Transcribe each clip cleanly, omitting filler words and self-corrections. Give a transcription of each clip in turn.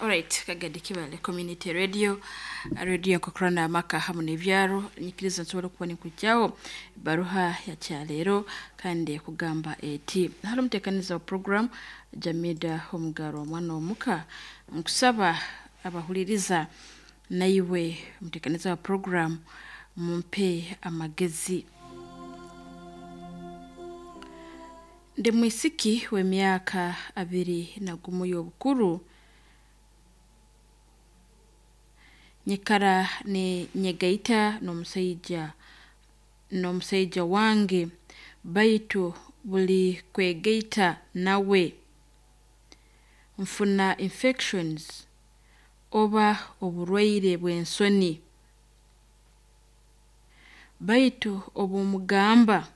Alright, Kagadi Kibale Community Radio, radio nkokurana amaka hamu n'ebyaro. Nyikiriza nsobora kuba ninkujyaho baruha ya kyaleero kandi ekugamba eti hali omuteekaniza wa program Jamida Omugaro omwana omuka, nkusaba abahuliriza naiwe omuteekaniza wa program mumpe amagezi. Ndi mwisiki w'emyaka 21 y'obukuru, nyikara ninyegaita n'omusaija wange baitu buli kwegaita nawe nfuna infections oba oburwaire bw'ensoni, baitu obu mugamba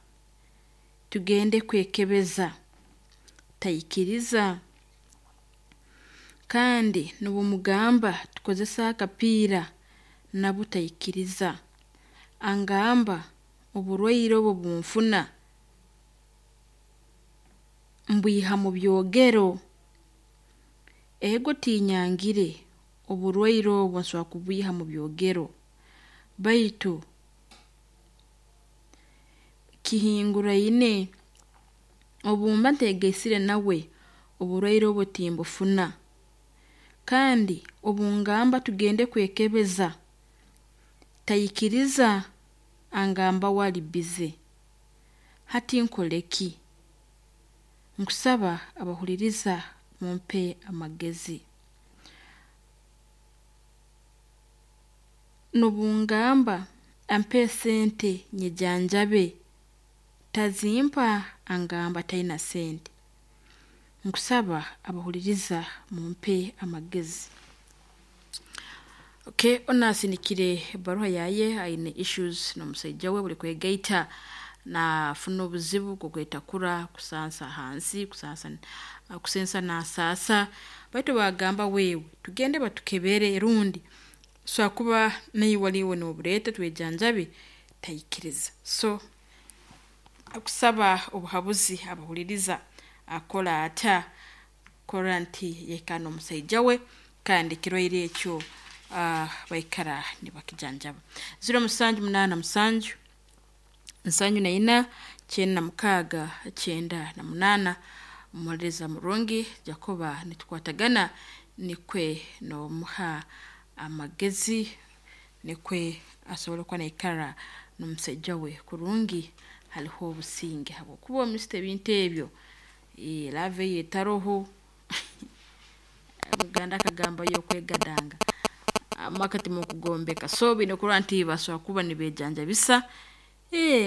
tugende kwekebeza taikiriza, kandi n'obumugamba tukozese akapiira nabwo taikiriza, angamba oburwaire obu obunfuna mbwiha mu byogero. Ego tinyangire oburwaire obu nsobora kubwiha mu byogero, baitu kihinguraine obu mba nteegaisire nawe oburwaire obu timbufuna, kandi obungamba tugende kwekebeza taikiriza angamba we ali busy. Hati nkole ki? Nkusaba abahuliriza mumpe amagezi. N'obungamba ampe sente nyejanjabe tazimpa angamba taina sente. Nkusaba abahuliriza mumpe amagezi. Okay, onu asindikire ebaruha yaye aine issues n'omusaija we buli kwegaita nafuna obuzibu bw'okwetakura, kusansa hansi, kusensa nasaasa, baitu bagamba wewe tugende batukebere rundi osobola kuba naiwe oriiwe nobureeta twejanjabe, taikiriza. So akusaba obuhabuzi abahuliriza akole ata kurora nti yaikara n'omusaija we kandi ekirwaire ekyo baikara nibakijanjaba. 0787 74 96 98. Omuhuliriza murungi Jacoba nitukwatagana nikwe nomuha amagezi nikwe asobole kuba naikara n'omusaija we kurungi hariho obusinge habwokuba omisita ebintu ebyo, love eyo etaroho. Omuganda akagamba y'okwegadanga amaka timukugombeka, so baine kurora nti basobora kuba nibeejanjabisa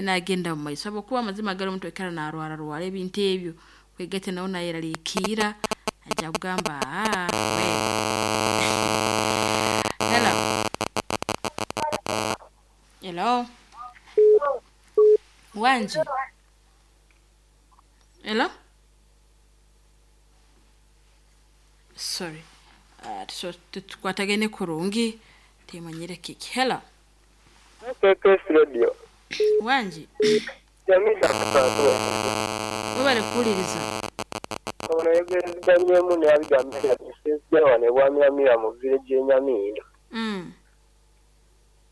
nagenda mumaiso habwokuba amazima gali omuntu aikara narwara rwara ebintu ebyo, kwegaita nawe nayeraliikirra aija kugamba we. Hello. Hello. Wangi. Hello. Sorry. So tukwatagane kurungi timanyire kiki. Hello. KKS Radio. Wangi. Jamida Kasasiro. Webale kuwuliriza. Ono ayogerezeganyemu n'ebigambo ebya wano e Bwamiramira mu village y'e Nyamindo.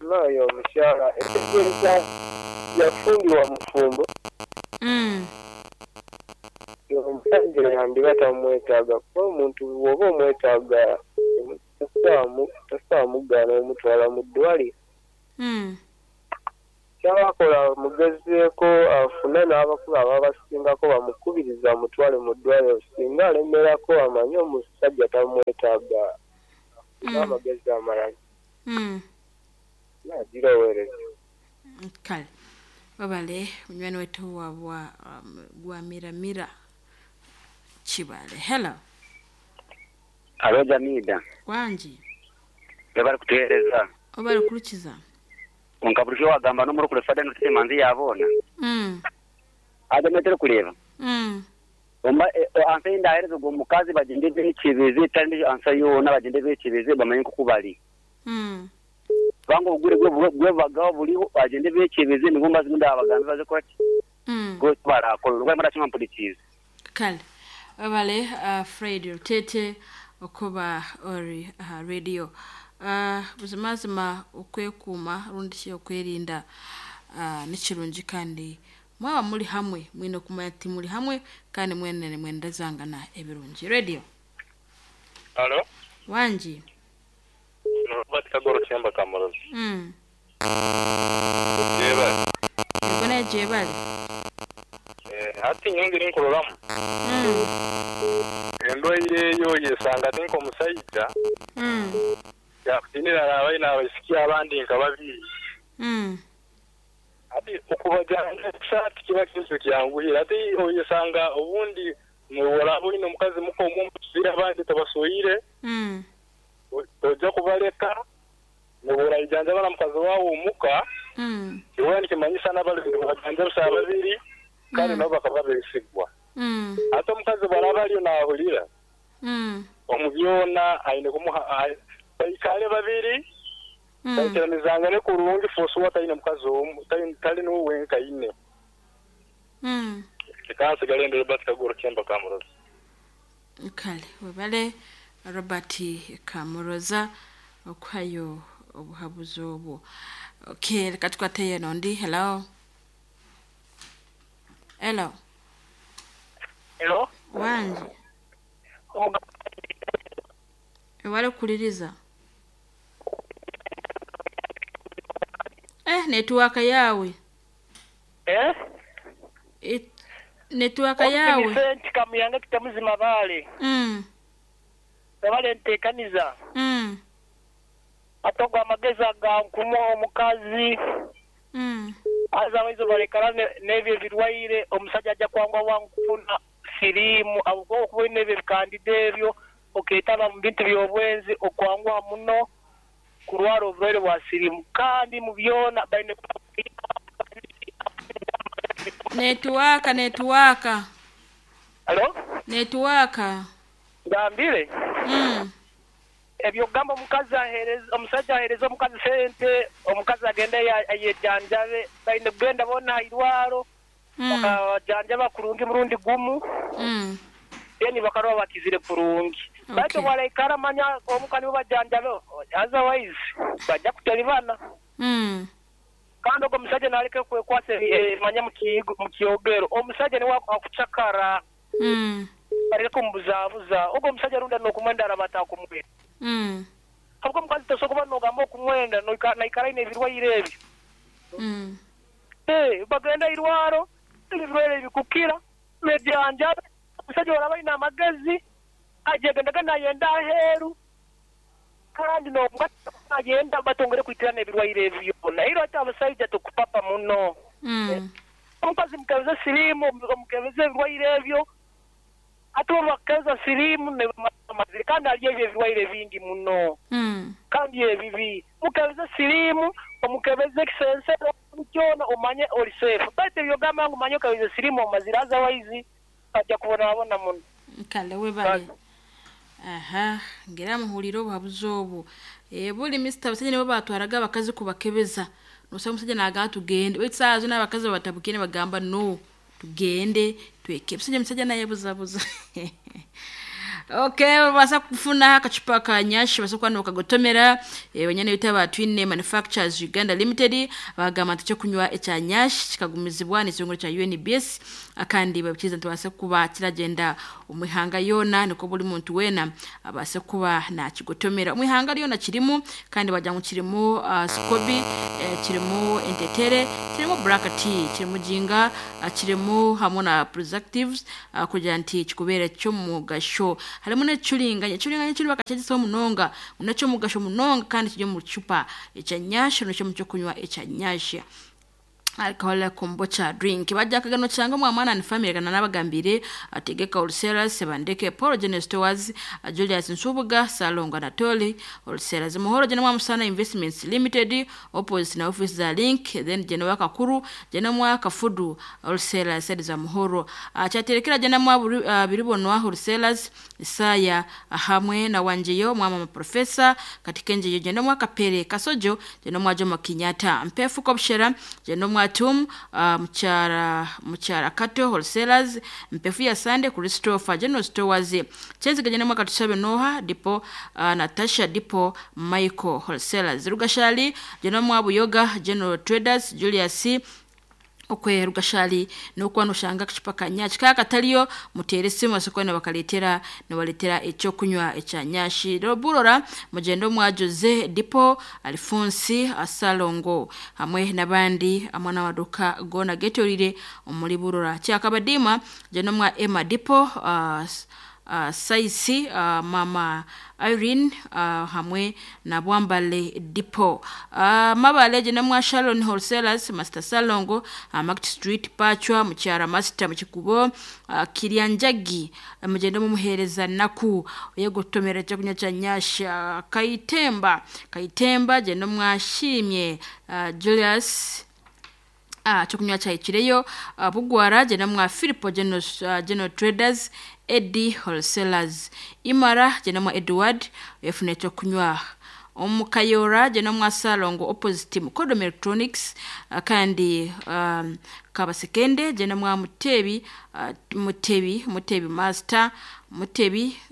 N'oyo omukyala etegeeza yafumbirwa mufumbo. Omusajja yandiba tamwetaaga kuba omuntu bw'oba omwetaaga tosobola mugaana omutwala mu ddwaliro. Ky'aba akola amugezeeko afune n'abakulu ababasingako bamukubirize amutwale mu ddwaliro singa alemerako amanye omusajja tamwetaaga afune amagezi amalala. Naagira oweereza. Kale webale munywani waitu wa Bwamiramira Kibale. Hello. Alo Jamida. Wangi. Webale kutuheereza. Webale kurukiza. Konka bulijo wagamba n'omurokore Fada Innocent Manzi yaboona. Haza metero kureeba. Omba ansa ei ndaheereza ogwo mukazi bagyende beekyebeze tari ansa yoona bagyende beekyebeze bamanye nk'oku bari. Kubanga obugwire bwebagaho buriho bagyende beekyebeze nibwo mazima ndabagambe baze kuba ki barakora orwo barakimpa mpurikiize. Kale webale Fred Rutete. Okuba ori aha radio. Buzimazima okwekuuma rundi ki okwerinda nikirungi kandi mwaba muri hamwe mwine kumanya ati muri hamwe kandi mwene nimwendezangana ebirungi. Radio. Halo. Wangi. Robert Kagoro Kyemba Kamurozi. Jebale. Yego naye jebale. Hati nyongere nkuroramu. Endwaire eyo yesanga tinka omusaija. Yakutinira abaina abaisiki abandi nka babiri. Ati okubajana kiba kintu kyanguhira. Ati oyesanga obundi muwora bwine omukazi muko omusira abandi tabasoyire. Tojja kubaleka nobora ijanja bana mukazi wawo omuka. Iwe nikimanyisa n'abali bajanja babiri kandi nabo bakaba besigwa. Ate omukazi bw'araba ariyo naahurira omu byona aine kumuha baikale babiri baikeranizangane kurungi fosuwa taine mukazi omu tali niwe wenka aine. Kansigale ndi Robert Kagoro Kyemba Kamuroza. Kale webale Robert Kamuroza okuhayo obuhabuzi obwo. Okay, reka tukwate nondi. Hello. Hello. Hello. Wangi. Ewale kuliriza. Network yawe. Network yawe. Vicente Kamuyanga kitamuzima bale. Bale ntekaniza. Atogwa amagezi aga nkumu omukazi. Aza balekara n'ebyo birwaire omusajja ajja kwangwa wankufuna siriimu abuko okuba n'ebyo bikandida ebyo oketaba mu bintu by'obwenzi okwangwa muno kurwara obulwaire bwa siriimu kandi mu byona baine Network. Hello? Network. Ngambire. Ebyo gamba omukazi ahereza omusajja ahereza omukazi sente omukazi agenda yejanjabe baine kugenda bona irwaro bakajanjaba kurungi murundi gumu then bakarwa bakizire kurungi. Baito walaikara manya omukani bajanjabe otherwise bajja kutalibana. Kandi ogwo omusajja naleke kwekwasa manya mukiyogero omusajja niwe akucakara bareke kumubuzabuza ogwo omusajja runda nokumwenda arabata kumwenda. Ahubwo omukazi tosobola nogamba okumwenda naikara ine ebirwaire ebyo. Bagenda irwaro ebirwaire bikukira nejanja omusajja oraba ine amagezi ajegendaga nayenda aheeru kandi nagenda batongere kwitirana ebirwaire ebyo nairo ati abasajja tukupapa muno. Omukazi mukebeze siriimu omukebeze ebirwaire ebyo ate bakeza siriimu ne maziri kandi ali ebyo ebirwaire bingi muno kandi ebibi mukebeze siriimu omukebeze ekisensero kyona omanye oli safe baitu ebyogamba ngu omanye okebeze siriimu omaziri otherwise ajja kubonabona muno. Kale webale. Aha, ngira muhulira obuhabuzi obwo. Buli Mr. Basajja nibo batwaraga abakazi kubakebeza. Nosanga omusajja naagamba tugende. Baitu saaha zino abakazi batabukire bagamba no tugende tweke. Musajja naye buzabuza. Okay, basa kufuna akachupa ka nyashi basa kwa nokagotomera wenyene bitaba Twine Manufacturers Uganda Limited bagamba nti cyo kunywa echa nyashi kikagumizibwa n'ikirongore cha UNBS akandi babikiza ntibase kuba kiragenda umihanga yona niko buli muntu wena abase kuba na kigotomera umihanga yona kirimu kandi bajya mu kirimu Scobi kirimu entetere kirimu black tea kirimu jinga kirimu hamwe na preservatives kugira nti kikubere cyo mugasho harimo n'ecuringanya kiri bakakigisaho munonga unacyo mugasho munonga kandi kijye mu cupa echa nyasha n'icyo mu cyo kunywa echa nyasha alcohol kombucha drink bajja kagano cyangwa mwana ni family kana nabagambire ategeka Ulceras Sebandeke Paul Genes Stores Julius Nsubuga Salonga Natoli Ulceras Muhoro jena Musana Investments Limited opposite na office za Link then jena wakakuru jena mwaka fudu Ulceras za Muhoro achaterekera jena mwa biribonwa Ulceras Isaya hamwe na wanjeyo mwa professor katika njeyo jena mwaka pere kasojo jena mwa Jomo Kenyatta mpefu kopshera jena mwa Mwatum Mukyara Mukyara Kato Wholesalers Mpefu ya Sande Christopher General Stores Kyenziga genda mwaka tusabe Noha Dipo Natasha Dipo Michael Wholesalers Rugashali genda mwa Buyoga General Traders Julius okwe Rugashali nokuba noshanga akacupa ka nyashi kaka katariyo mutere esimu basokone bakaletera nibaletera ekyokunywa ekya nyashi Burora mugendo mwa Jose Dipo Alphonse Asalongo hamwe n'abandi amwe n'amaduka gona getorire omuri Burora Kyakabadima gendo mwa Emma Dipo Saisi Mama Irene hamwe na Bwambale Dipo Mabale genda mwa Sharon Wholesalers Master Salongo Market Street Pachwa Mukyara Master Mukikubo Kiryanjagi mugende mumuhereza naku yegotomera cyo kunywa cya nyasha Kayitemba genda mwashimye Julius cyo kunywa cyayikireyo Bugwara genda mwa Philipo General Traders Eddie Wholesalers Imara genda mwa Edward efune cyo kunywa Omukayora genda mwa Salongo opposite Mukodom Electronics kandi Kabasekende genda mwa Mutebi Mutebi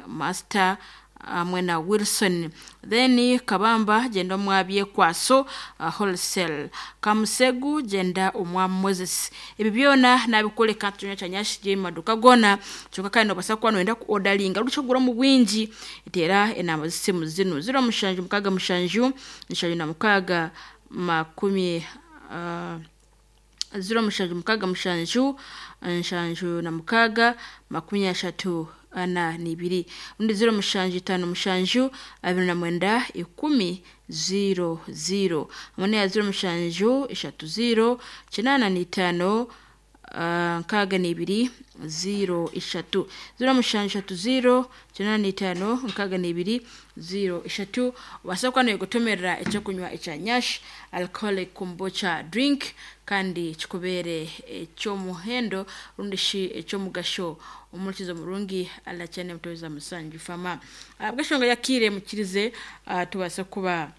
Master hamwe na Wilson then Kabamba genda mwa Byekwaso wholesale Kamusegu genda omwa Moses ebi byona nabikoleka tunya chanyashi je maduka gona kyonka kandi nobasa kuba noyenda ku ordaringa ruchogura mu bwingi etera enamba zisimu zino 07 6 6 07 6 76 42 undi 07 57 29 10 00 amane ya 07 30 85 62 03 07 30 85 62 03 wasakwa no gutomerera icyo kunywa icya nyash alcoholic kombucha drink kandi kikubere icyo muhendo rundi shi icyo mugasho umurikizo murungi alachane mutoweza musanju fama bwashonga yakire mukirize tubasa kuba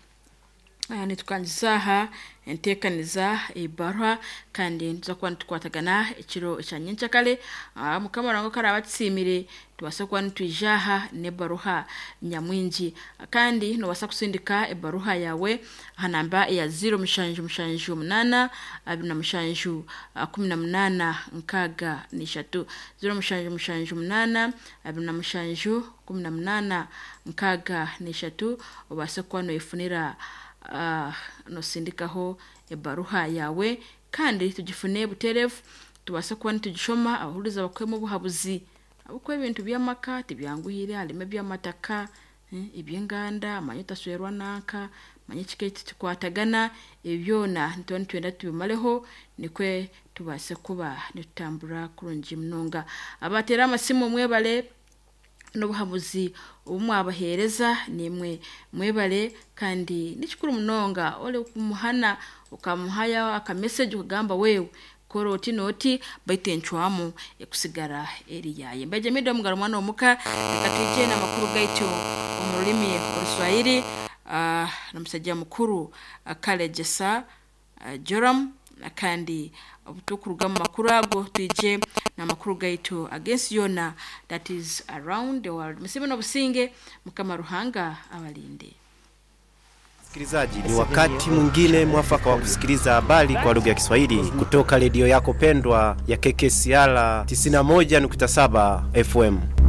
nitukangizaha entekaniza ebarwa kandi tuzakuba nitukwatagana ekiro ekya nyenkyakare mukama wange karaba atsimire tubasa kuba nitwijaha n'ebaruha nyamwingi kandi nobasa kusindika ebaruha yawe aha namba ya 0778 27 18 63 0778 27 18 63 obase kuba noyefunira nosindikaho ebaruha yawe kandi tugifune buterevu tubase kuba nitugishoma abahuriza bakwemu obuhabuzi ahabwokuba ebintu by'amaka tibyanguhire harimu eby'amataka eby'enganda manya otaswerwa nanka manya ekika eki tikikwatagana ebyo byona nituba nitwenda tubimareho nikwe tubase kuba nitutambura kurungi munonga. Abateera amasimu mwebare n'obuhabuzi obu mwabaheereza nimwe mwebare kandi nikikuru munonga ori kumuhana okamuhayo akameseji okagamba wewe kora oti n'oti baitu encwamu ekusigara eri yaye. Mbaije mida omugaro mwana omuka reka twije n'amakuru gaitu omu rurimi oruswahili n'omusajja mukuru Kalegesa Joram kandi obutukuruga mu makuru ago twije n'amakuru gaitu against yona that is around the world. Musibe n'obusinge mukama Ruhanga abalinde. Msikilizaji, ni wakati mwingine mwafaka wa kusikiliza habari kwa lugha ya Kiswahili kutoka redio yako pendwa ya KKCR 91.7 FM.